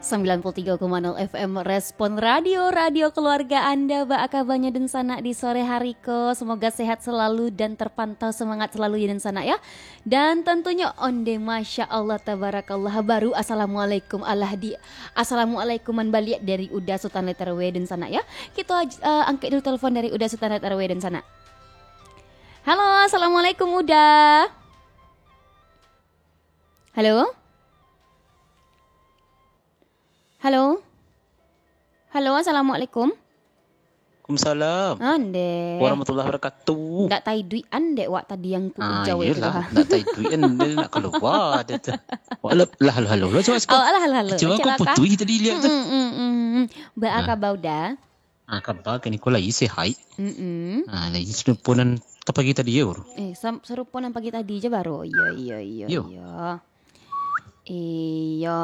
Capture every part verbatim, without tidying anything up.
Sembilan puluh tiga koma nol F M Respon Radio, radio keluarga Anda. Baa kabanyo dunsanak di sore hari ko? Semoga sehat selalu dan terpantau semangat selalu ya dunsanak ya. Dan tentunyo onde masya Allah tabarakallah baru assalamualaikum alah di assalamualaikuman baliak dari Uda Sutan Letter W dunsanak ya. Kito aj- eh, angkek dulu telepon dari Uda Sutan Letter W dunsanak. Halo, assalamualaikum Uda. Halo? Halo? Halo, assalamualaikum. Waalaikumsalam. Andek. Warahmatullahi wabarakatuh. Ndak tai duit andek wak tadi yang ku Ah, ujau itu iyalah, ha. Ndak tai duit kan dia nak keluar dia tu. Wah, lah, lah, halo, halo, halo, cuba, cuba. Oh, alah, halo, halo. Cuba Cik kau Laka. Putuih tadi lihat tu. Mm, mm, mm, mm. Ba Ah. Kaba Uda? Ah, kaba kini ko lai sehat. Mm-mm. Ah, lai serupo nan tapagi tadi yo, bro. Eh, sam- serupo nan pagi tadi je baru. Iyo, iyo, iyo, Yo. iyo. Iyo.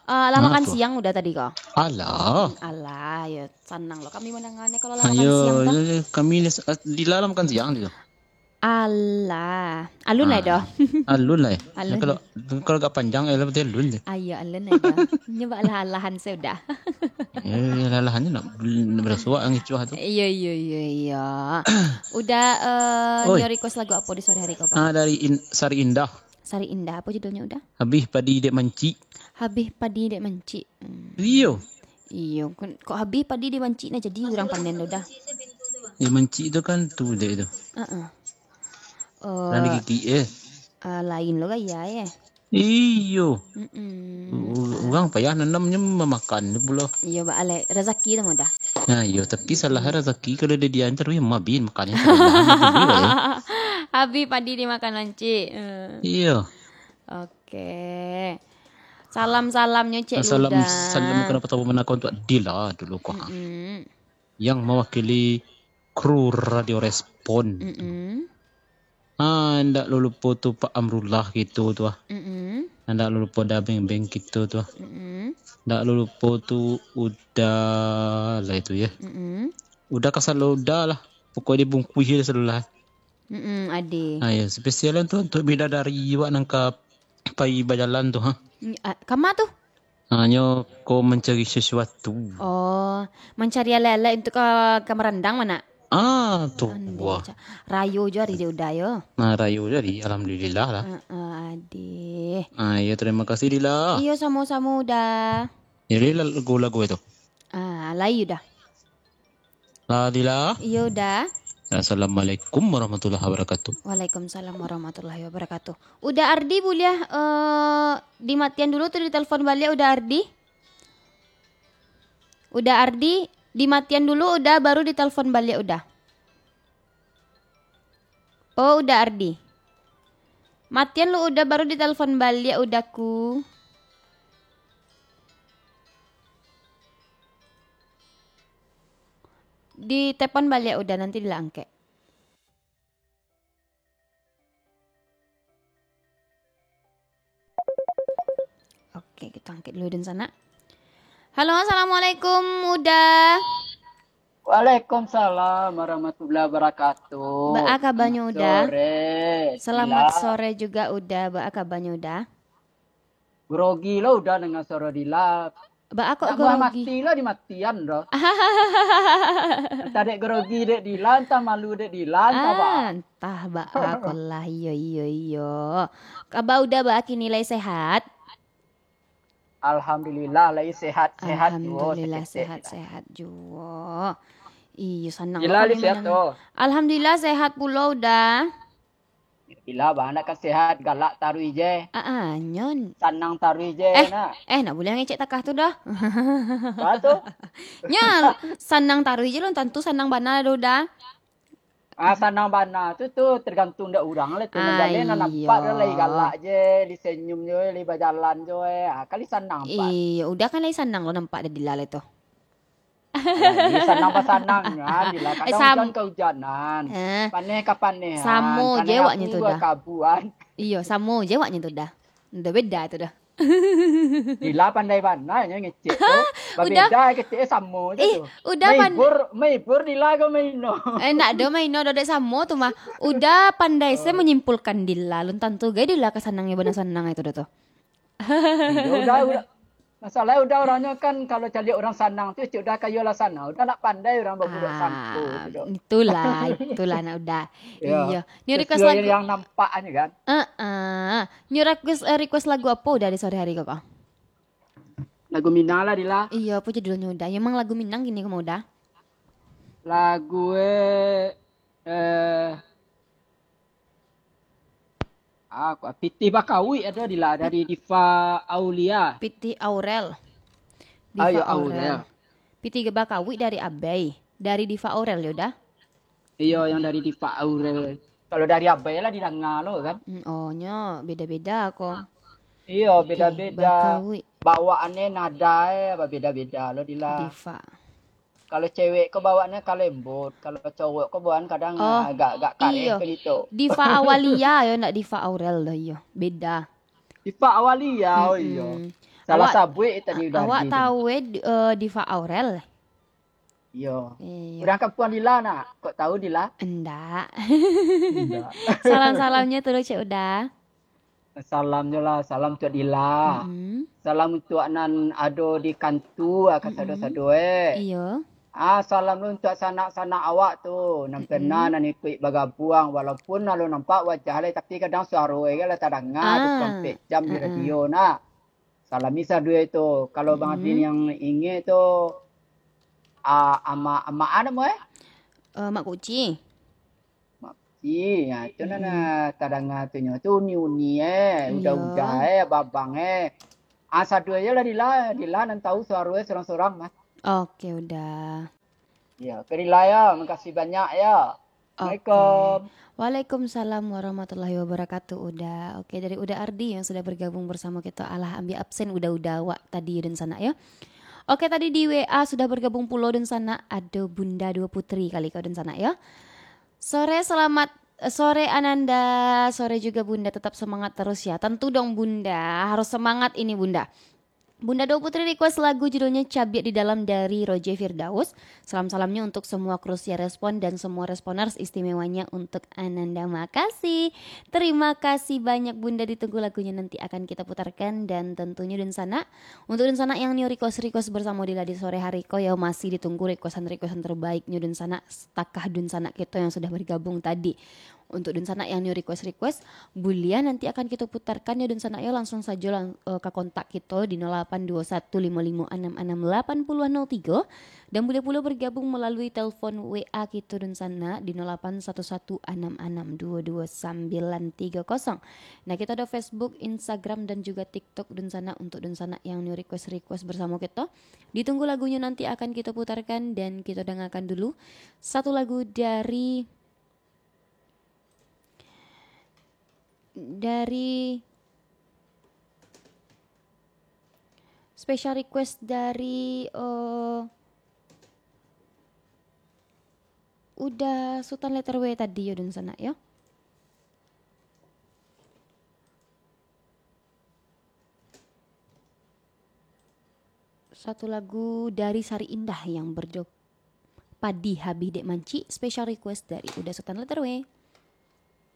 Ah, lah Nah, makan tu. Siang udah tadi ko? Alah. Alah, ya sanang lo kami mandanga ne kalau lah makan Ayo, siang tu. Yo, yo, kami ni s- di dalam makan siang dia. Alah, alun lah Ah, doh. Alun lah ya. Alun. Kalau kalau agak panjang ya berarti alun je. Ayo, alun lah doh. Nyoba alah-alahan sudah. Ya, ya, alahan ni nak nak berasuak ngicuah tu. Iyo, iyo, iyo, iyo. Udah eh, Oi. Nyo request lagu apa di sore hari ko, Pak? Ah, dari In- Sari Indah. Sari Indah, apa judulnya udah? Habih padi dek mancik. Habih padi dek mancik. Hmm. Iyo. Iyo, kan kok habih padi dek mancik nah jadi urang panen tu dah. Dek mancik tu kan tu dek tu. Heeh. Urang Eh, digigik eh. Ah, lain lo gaya eh. Iyo. Mm-mm. U- Urang payah nanamnyo mamakan tu pulo. Iyo, ba alai rezeki tu mudah. Nah, iyo, tapi salah rezeki kalau dia diantar weh mabin makan itu. Habih padi dimakan mancik. Eh. Iyo. Oke. Salam-salamnyo Cik Salam Luda. Salam kena pertama nak untuk Dila dulu ko. Mm-mm. Yang mewakili kru Radio Respon. Mm-mm. Ah, ndak lo lupo tu Pak Amrullah gitu tu ah. Mm-mm. Ndak lo lupo dah beng-beng gitu tu ah. Mm-mm. Ndak lo lupo tu udah lah itu ya. Mm-mm. Udah kasalo udah lah. Pokoknya dibungkuih je selalu lah. Mm-mm, ade. Ah, ya, spesial tu untuk bidadari awak nang ka pai bajalan tu ha. Mm, ah, kama tu? Hanyo ko mencari sesuatu. Oh, mencari alat-alat untuk ka, ka merandang mana? Ah, tu. Andai wah. Rayo jo hari dia udah yo. Nah, rayo jadi alhamdulillah lah. Uh, uh, adih. Ah, ya terima kasih Dila. Iyo samo-samo udah. Jadi lagu-lagu itu. Ah, lai udah. Adila. Iyo udah. Assalamualaikum warahmatullahi wabarakatuh. Waalaikumsalam warahmatullahi wabarakatuh. Udah Ardi buliah eh, dimatian dulu tu ditelepon baliak udah Ardi. Udah Ardi, dimatian dulu udah baru ditelepon baliak udah. Oh, udah Ardi. Matian lu udah baru ditelepon baliak udah ku. Ditelepon baliak udah nanti dilangkek. Oke, kita angkat dulu dan sana. Halo, assalamualaikum, Uda. Waalaikumsalam warahmatullahi wabarakatuh. Baa kabanyo, Uda? Sore. Selamat sore juga, Uda. Baa kabanyo, Uda? Grogi lo Uda dengan suara Dila. Baa kok grogi? Mati lo dimatian doh. Entah dek grogi dek Dila, entah malu dek Dila, entah baa. Ah, entah baa kok lah, iyo, iyo, iyo. Kaba Uda baa kini lai sehat? Alhamdulillah, lai sehat, sehat juo. Alhamdulillah, sehat-sehat juo. Iyo, sanang Dila lai sehat tu? Alhamdulillah, sehat pulo Uda. Dila bana kan sehat, galak taruih je. Ah, ah, nyon. Sanang taruih je, eh, nak. Eh, nak buliah ngecek takah tu dah. Apa tu? Nya, sanang taruih je lo, tantu sanang bana do Uda. Ah, sanang bana tu, tu tergantung dek urang lah tu. Ah, iyo. Nampak tu lai galak je, lai senyum je, lai bajalan je. Ah, kali sanang pat. Iyo, Uda kan lai sanang lo nampak dari Dila lai tu. Alah, sanang pasanang nyo, Dila. Eh, kadang sam- ujan kaujanan. Eh. Paneh ka panehan. Samo je awaknyo tu dah. Kabuan. Iyo, samo je awaknyo tu dah. Ndak beda tu dah. Dila pandai bana nyo ngecek tu. Uda. Babeda kecek samo je tu. Ih, Uda pan- Maibur, maibur Dila ko maino. Eh, ndak do maino, do dek samo tu mah. Uda pandai se menyimpulkan Dila. Lun tantu gai Dila ka sanang nyo bana sanang itu dah tu. Iyo, Uda, Uda. Masalah Uda, orangnya kan kalau caliak orang sanang tu, cik Uda kayo lah sanang. Uda nak pandai orang baburuak sangko tu, Dok. Itulah, itulah nak Uda. Ya. Iyo. Ni request lagu yang nampak aja kan. Heeh. Ni request eh, request lagu apa Uda di sore hari ko? Lagu Minang lah, Dila. Iyo, apa judulnya Uda? Ya, emang lagu Minang gini kamu Uda? Lagu eh eh Ah, Pitih Bakawik ada, Dila, dari Diva Aulia. Pitih Aurel. Diva Aurel. Pitih Bakawik dari Abai. Dari Diva Aurel, ya Uda? Iyo, yang dari Diva Aurel. Kalau dari Abai lah didanga lo kan. Hmm, oh, nyo beda-beda ko. Iyo, beda-beda. Bawaannya nada eh beda-beda lo, Dila. Diva. Kalau cewek ko bawaannya ka lembut, kalau cowok ko bawaan kadang oh, agak-agak kareh iyo. Ke gitu. Diva Awalia yo, ndak Diva Aurel doh iyo. Beda. Diva Awalia, oh iyo. Salah awak, sabuik tadi Uda. Awak tahu eh uh, Diva Aurel? Iyo. Iyo. Urang kampuang Dila nak? Kok tahu Dila? Endak. Endak. Salam-salamnya tu cek Uda. Salam jo lah, salam untuak Dila. Mm-hmm. Salam untuak nan ado di kantua, kasado-sado eh. Iyo. Ah, salam lo untuak sanak-sanak awak tu, nan pernah nan ikuik bagabuang, walaupun alun nampak wajah lai, tapi kadang suaro eh lah tadanga tu sampek jam di radio nak. Salami sadue tu. Kalau Bang Adin yang ingek tu, ah, ama ama anu eh? Uh, Mak Kuci. Ih, ha, itu nan hmm. Tadanga tu nyo tu uni-uni eh, udah-udah eh, babang eh. Ah, sadu aja lah Dila, Dila nan tahu suaro eh sorang-sorang mah. Oke, udah. Ya, oke Dila ya, makasih banyak ya. Assalamualaikum. Waalaikumsalam warahmatullahi wabarakatuh, Uda. Oke, dari Uda Ardi yang sudah bergabung bersama kita. Alah, ambil absen Uda-Uda awak tadi dan sanak ya. Oke, tadi di W A sudah bergabung pulo dan sanak. Ada Bunda Dua Putri kali kau dan sanak ya. Sore selamat eh, sore Ananda, sore juga Bunda, tetap semangat terus ya. Tentu dong Bunda, harus semangat ini Bunda. Bunda Dua Putri request lagu judulnya Cabiak di Dalam dari Roger Firdaus. Salam-salamnya untuk semua krusia respon dan semua responers, istimewanya untuk Ananda. Makasih. Terima kasih banyak Bunda, ditunggu lagunya nanti akan kita putarkan dan tentunya dan sanak. Untuk dan sanak yang new request-request bersama Dila di sore hari ko ya masih ditunggu requestan-requestan terbaiknya dan sanak. Takah dunsanak kito yang sudah bergabung tadi. Untuk dunsanak yang new request-request, buliah nanti akan kito putarkan ya dunsanak ya, langsung sajo lang, uh, ka kontak kito di nol lapan dua satu lima lima anam anam lapan puluh nol tiga, dan buliah pulo bergabung melalui telepon W A kito dunsanak di nol lapan satu satu anam anam dua dua sambilan tiga kosong. Nah, kito ada Facebook, Instagram, dan juga TikTok dunsanak. Untuk dunsanak yang new request-request bersama kito, ditunggu lagunya nanti akan kito putarkan dan kito dangakan dulu. Satu lagu dari dari special request dari uh, Uda Sutan Letter W tadi yo dunsanak yo. Satu lagu dari Sari Indah yang berjudul Padi Habih Dek Mancik, special request dari Uda Sutan Letter W.